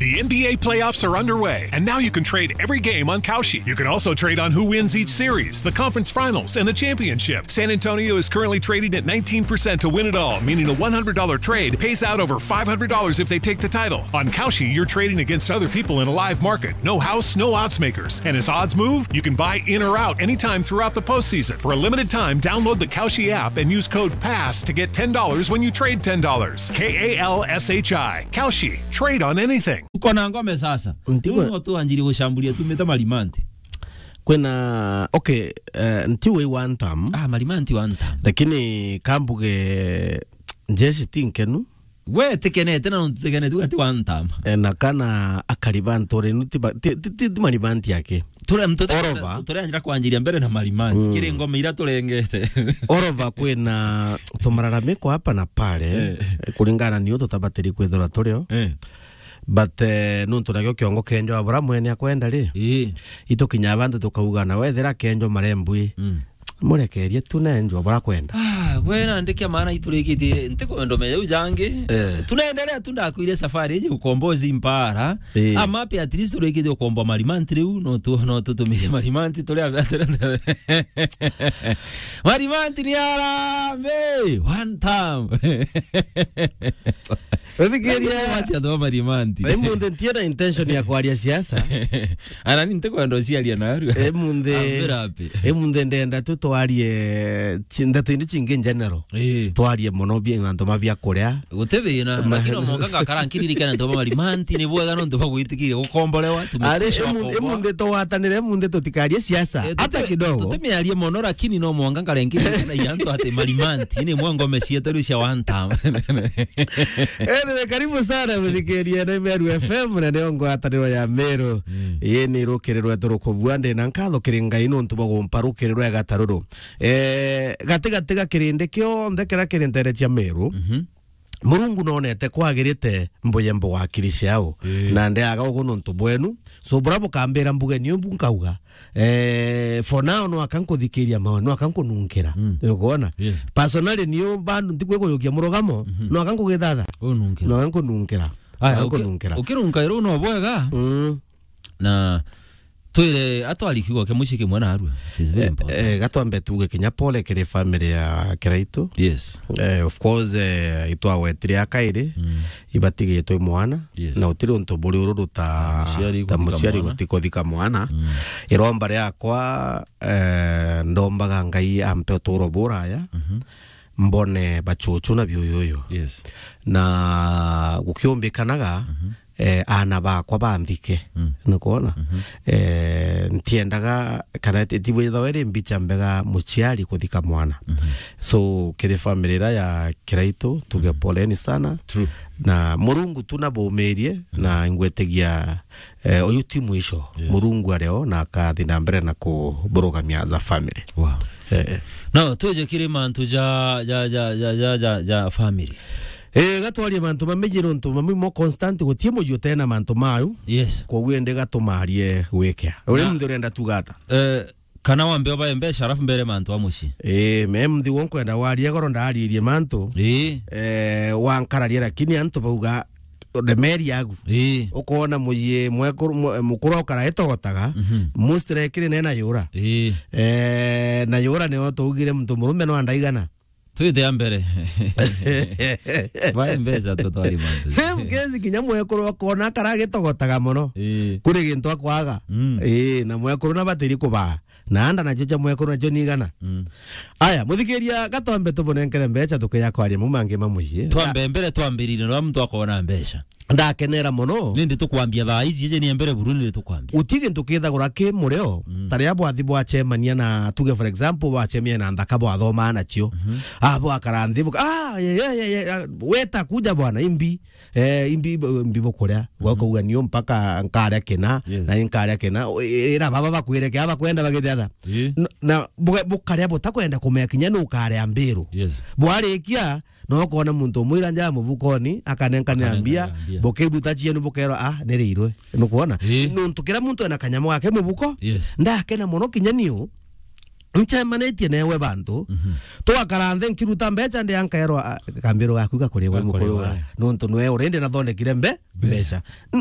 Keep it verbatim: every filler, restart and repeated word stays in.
The N B A playoffs are underway, and now you can trade every game on Kalshi. You can also trade on who wins each series, the conference finals, and the championship. San Antonio is currently trading at nineteen percent to win it all, meaning a one hundred dollar trade pays out over five hundred dollars if they take the title. On Kalshi, you're trading against other people in a live market. No house, no odds makers. And as odds move, you can buy in or out anytime throughout the postseason. For a limited time, download the Kalshi app and use code pass to get ten dollars when you trade ten dollars. K A L S H I. Kalshi. Trade on anything. Uko na ngome sasa. Ntigwe- Riu no twanjirie gucamburia tumite marimanti. Kwina, okay, eh, nti wi one term. Ah, marimanti one term. Lakini kambuge jeshi ti nkenu. We tikenete na ntikenete ugati one term. Eh, na kana akari ba nturenu ti ba-, ti, ti, ti, ti marimanti yake. Tule mtu Orova. Tule anjira kwanjiria mbere na marimanti. Mm. Kiri ngome ira turengete. Orova kwina tumararamiko hapa na pale, Eh. Kuringana na niu tutabatiri kwithirwa turio. Eh. But, eh, nuntu nakio kiongo kenjo abura mwene akwenda ri. Ii. Itukinya bantu tukauga na wethira kenjo marembwi. Mm. Murekerie tu nenjo abura kwenda. Ah, we na ndikia maana iturikitie ntikwendo me u jangi. Eh. Tunaendelea tu ndakwire safari iji ukombozi mpara. Ii. Ama pe at least turikitie ukombo marimanti riu no tu, no tutumire marimanti turi a-, marimanti ni arambe one time. Uthikiria. Wacha ndo marimanti. Emunde ntiena intention ya kwaria siasa. Ana ni ntikwenda uciaria narua. Emunde. Ambira api. Emunde ndenda tu twarie chi-, ndeto indi chingi in general. Ii. Twarie mono bia antu mabia kuria. Guti thina, lakini omonga ngakara nkiririkana ntu ba marimanti ni bwega nontu bwa gwitikiria gukomborewa, tumekuwa Ari, emunde, wakomboa. Emunde twatanire, emunde tutikarie siasa. Eh, hata tute-, kidogo. Tutimiarie mono, lakini no mwanga nkarengirie na yantu ati marimanti ni mwango meciete rucia one time. Anyway, karibu sana muthikiria na Meru F M na nio ngwataniro ya Meru. Mm. Ii ni rukiri rwetu rukubua, ndi na nkatho kiri Ngai nontu bwa gumpa rukiri rwega ta ruru. Eh, gati gati ga kirindi kionthe kiria kiri ntere cia Meru, Mhm. Murungu nonete kwagirite mbuye mbuga akiri ciao. Ii. Na ndeaga ugu nontu bwenu. So, bura bukambira mbuge niu bu nkauga. Eh, for now, no aka nkuthikiria maoni, no aka nkununkira. Mm. Ukwona? Yes. Personally, niu bandu ntikwikuyukia murugamo, Mhm. no aka nkugithatha. Ununkira. No aka nkununkira. Aya, No aka uki-, nkununkira. Ukirunka iru no bwega. Mm. Na twire atwari kiugo kia mucii kimwe narua. It is very Eh, important. Eh, gatwambe tuge kinya pole kiri family ya Kiraitu. Yes. Eh, of course, eh, itwagwetire akairi, Mm. ibatigitwe mwana, Yes. na utiri untu buri ururu ta, Muciari ta gutika muciari mwana. Gutikuthika mwana. Mm. Iromba riakwa, eh, ndombaga Ngai ampe uturo buraya, Mhm. mbone bachuchu na biuyuyu. Yes. Na gukiumbikanaga, Mhm. eh, aana bakwa banthike. Mm. Nukwona? Mhm. Eh, ntiendaga kana ti-, ti withawe ri mbicha mbega muciari kuthika mwana. Mhm. So, kiri family ira ya Kiraitu, tuge Mhm. poleni sana. True. Na Murungu tu nabumirie, Mhm. na ngwetigia, eh, uyu ti mwisho. Yes. Murungu ario na akathi na mbere na kuburugamia as a family. Wow. Eh, eh. No, tuje kiri mantu ja, ja, ja family. Eh, gatwarie mantu mamiji nontu mamwe mo constant, gutie muji utena mantu mayu. Yes. Koguo ende gatumarie gwikea. Uri Na- muntu urenda tuga ata? Eh, kana wambe obae mbeca, alafu mbere mantu a mucii. Eh, me mthi wo nkwenda warie goro ndaririe mantu. Eh. Eh, wankararia, lakini antu bauga ndemeri yagu. Ii. Ukona muyi mwekuru, mu-, mukuru okara etogotaga, Mhm. mustre kiri nena yura. Ii. Eh, na yura nio tuugire muntu murume no andaigana. Twite a mbere. Vai mbeca tutwari mantu. Same case kinya mwekuru okona akara gitogotaga mono. Ii. Kuri gintu akwaga. Mm. Ii, na mwekuru na batiri kubaa. Na anda nacio cia mwekuru nacio ni igana. Mm. Aya, muthikiria, gatwambe tubunenkere mbeca tukeja kwaria mau mangi ma mucii. Twambe mbere twambirire, no muntu akona mbeca. Ndakenera mono. Nindi tukwambia thaa ici, ije ni mbere buru nindi tukwambia. Uti gintu kithagura ki murio, Mm. ta riria bwathi bwacemania na, tuge for example, bwacemania na nthaka bwathoma nacio. Mhm. Ah, bwakara nthi, buka-, ah, ye, ye, ye, ye, ah, weta kuja bwana, imbi. Eh, imbi, imbi bukuria. Mhm. Gwakauga niu mpaka nkaria kina, Yes. na nkaria kina. O, i-, ira baba bakwire kia bakwenda bagithiatha. Ii. N-, na buga-, bukaria butakwenda kumenya kinya nu ukaria mbiru. Yes. Bwarikia, no ukona muntu umwira nja mubukoni, akanenkanira Akanenkanira mbia, mbia. Bukiruta cienu bukerwa, "Ah, ni riirwe." Nukwona? Ii. Nuntu kira muntu ena kanyamu gake mubuko, Yes. ndakena mono kinya niu. Ncemanitie newe bantu, Mhm. twakara nthi nkiruta mbeca ndi ankaerwa, "Ah, kambiro gaku gakurigwa Gakurigwa. Mukuru ura." Nuntu nwe already nathondekire mbe-, Mbeca. mbeca. N-,